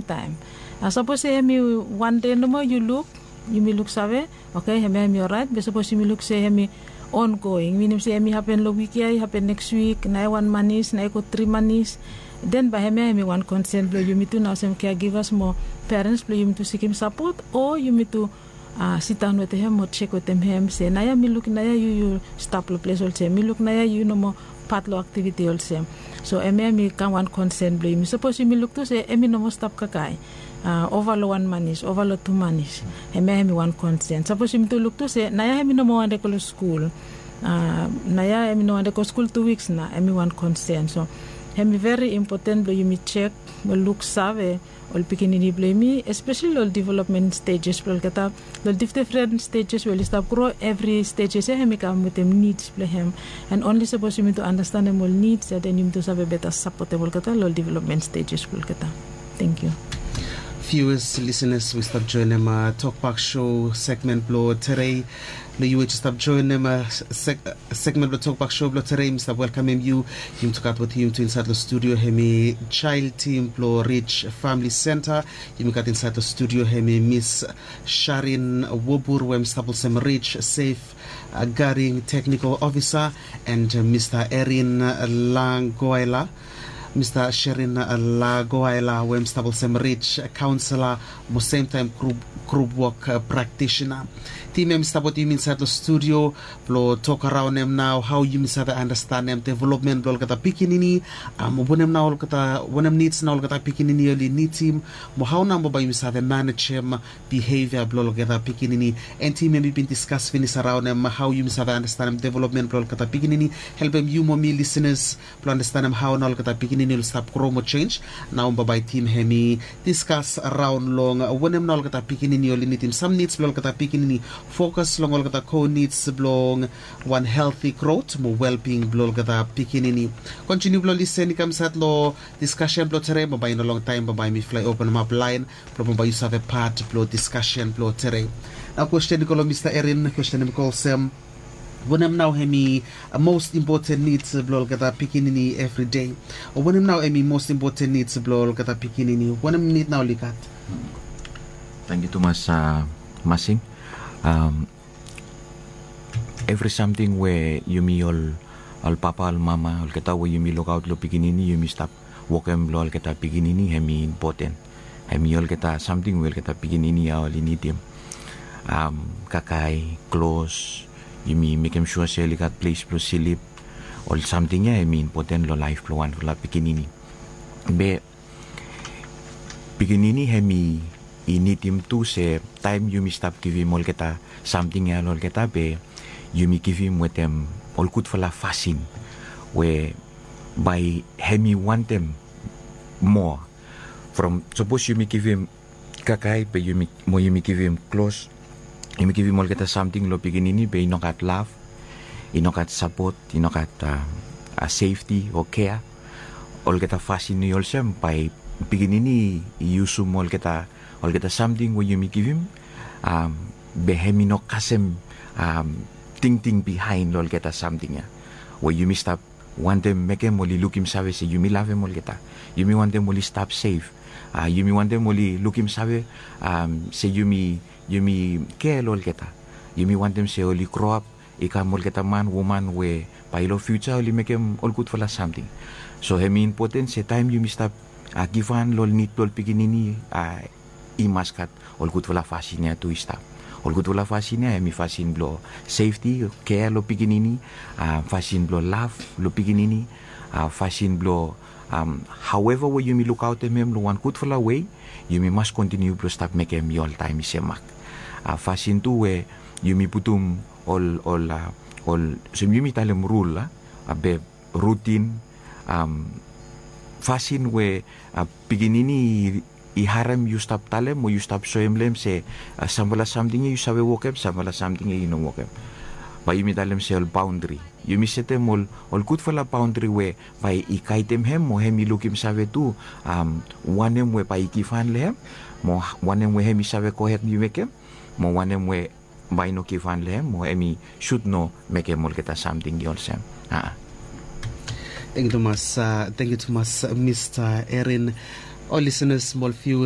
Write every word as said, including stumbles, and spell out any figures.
Taem sapos se hemi wan dei nomo yu luk, yumi luksave, oke, hemia hemi oraet. Be sapos yumi luk se hemi ongoing, minim se hemi hapen long wik ya, i hapen neks wik, naoia wan manis, naoia i go tri manis, den bae hemia hemi wan konsen blong yumi tu nao olsem kea givas mo perens blong yumi tu sikim sapot o yumi tu sitaon wetem hem mo jek wetem hem se naoia mi luk naoia yu yu stap long ples olsem, mi luk naoia yu nomo pat long aktiviti olsem. So hemia hemi kam wan konsen blong yumi sapos yumi luk tu se hemi nomo stap kakae ova long wan manis, ova long tu manis. Hemia hemi wan konsen sapos yumi tu luk tu se naoia hemi nomo wande go long skul, naoia hemi no wande go skul tu wiks na, hemi wan konsen. So hemi veri impoten blong yumi jek mo luksave ol pikinini blong yumi, espeseli long ol development stejes blong olgeta, long difdifren stejes we oli stap gro. Evri stejes ya hemi kam wetem nids blong hem. And onli sapos yumi tu anastenem ol nids ya, den yumi tu save beta sapotem olgeta long ol development stejes blong olgeta. Thank you. Viewers, listeners, we stap joenem tokbak show segment blong terei. Long yu we jes stap joenem segment blong tokbak show blong terei, mi stap welkamem yu. Yumi tu gat wetem yumi tu insaed long studio hemi jael tim blong Rich Famili Senta. Yumi gat insaed long studio hemi Mis Sharin Wobur we hem stap olsem Rich Safe Garing Teknikol Ofisa, and Mista Erin Lagoela, Mista Sherin Lagoela we hem stap olsem Rich Kaonsela mo semtaem grup wok praktisina. Tim ya mi stap wetem yumi insaed long studio blong tok araonem nao hao yumi save anastenem developmen blong olgeta pikinini, wanem nao olgeta wanem nids nao olgeta pikinini oli nidim, mo hao nao bae yumi save manejem bihevia blong olgeta pikinini. And tim ya mi bin diskas finis araonem hao yumi save anastenem developmen blong olgeta pikinini, helpem yu mo mi lisenas blong anastenem hao nao olgeta pikinini oli stap gro mo jenj. Nao bambae tim hemi diskas raon long wanem nao olgeta pikinini oli nidim, sam nids blong olgeta pikinini, fokas long olgeta ko nids blong wan helti grot mo welbing blong olgeta pikinini. Kontiniu blong lisen i kam insaed long diskasen blong terei, bambae i no longtaem bambae mi flae openemap laen blong bambae yu save pat blong diskasen blong terei. Nao kwesten i go long Mista Erin, kwesten hemi go olsem, wanem nao hemi mos impoten nids blong olgeta pikinini evri dei? O wanem nao hemi mos impoten nids blong olgeta pikinini? Wanem nid nao oli gat? Tangkiu tumas, Masing. Evri samting we yumi ol ol papa ol mama olgeta we yumi lukaot long pikinini, yumi stap wokem long olgeta pikinini, hemi impoten. Hemi olgeta samting we olgeta pikinini ya oli nidim. Kakae, klos, yumi mekem sua se oli gat ples blong slip. Ol samting ya hemi impoten long laef blong wanfala pikinini. Be pikinini hemi i nidim tu se taem yumi stap givim olgeta samting ya long olgeta, be yumi givim wetem ol gudfala fasin we bae hemi wantem moa. From sapos yumi givim kakae be yumi mo yumi givim klos, yumi givim olgeta samting long pikinini be i no gat lav, i no gat sapot, i no gat sefti o kea. Olgeta fasin i olsem bae pikinini i yusum olgeta olgeta samting we yumi givim, be hemi no kasem tingting bihaen long olgeta samting ya we yumi stap wantem mekem oli lukim save se yumi lavem olgeta. Yumi wantem oli stap sef. Yumi wantem oli lukim save se yumi yumi kea long olgeta. Yumi wantem se oli groap i kam olgeta man, woman we bae long fiuja oli mekem ol gudfala samting. So hemi impoten se taem yumi stap givhan long ol nid blong ol pikinini, i mas gat ol gudfala fasin ya tu i stap. Ol gudfala fasin ya hemi fasin blong sefti, kea long pikinini, fasin blong lav long pikinini, fasin blong, haoeva we yumi lukaotem hem long wan gudfala wei, yumi mas kontiniu blong stap mekem i oltaem i semak. Fasin tu we yumi putum ol ol ol olsem yumi talem rul, be rutin, fasin we pikinini i harem yu stap talem o yu stap soem long hem se samfala samting ya yu save wokem, samfala samting ya yu no wokem. Bae yumi talem se ol baondri, yumi setem ol ol gudfala baondri we bae i gaedem hem mo hem i lukim save tu wanem we bae i givhan long hem, mo wanem we hem i save gohed i mekem, mo wanem we bae i no givhan long hem, mo hem i sud no mekem olgeta samting i olsem. Tangkiu tumas, tangkiu tumas Mista Erin. Ol lisenas mo ol viuas